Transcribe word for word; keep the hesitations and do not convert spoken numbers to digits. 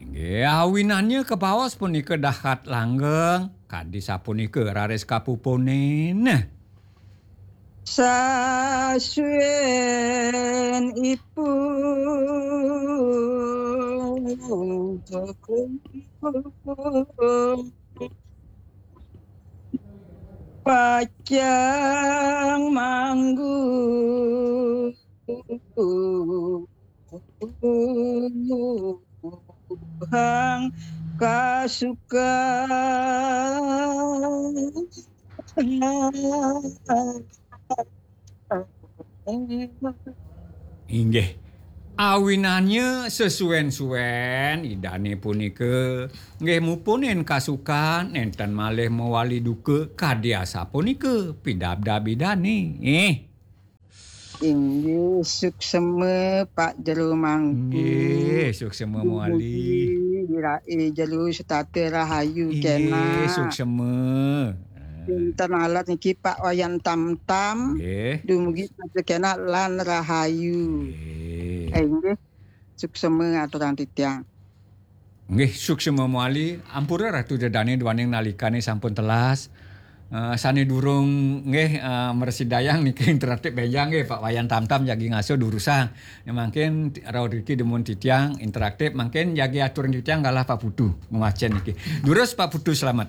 Inggih, awinannya kabaos punika dahat langgeng, kadi sapunika raris kapupunin. Sasuen ipun pacang manggu hang kasukan. Inggih. Awinannya sesuen-suen idane punika nggih mupunin kasukan, nenten malih mawali duka kadi asapunika pidabdab idane. Eh. Inggih, suksema Pak Jero Mangku. Inggih, suksema mawali. Dumugi irae jero setata rahayu. Inggih, kenak. Suksema. Dinten alat niki Pak Wayan Tamtam. Inggih. Dumugi setata kenak lan rahayu. Inggih. Eh, inggih. Suksema aturang titiang. Nggih, suksema mawali. Ampura Ratu Dedane duaning nalikane sampun telas. Eh, sane durung nggih, eh, mresidayang niki interaktif benjang nggih, Pak Wayan Tamtam jagi ngasuh durusang. Ya, mangkin rauh riki dumun titiang interaktif, mangkin jagi aturang titiang galah Pak Putu ngwacen niki. Durus Pak Putu, selamat.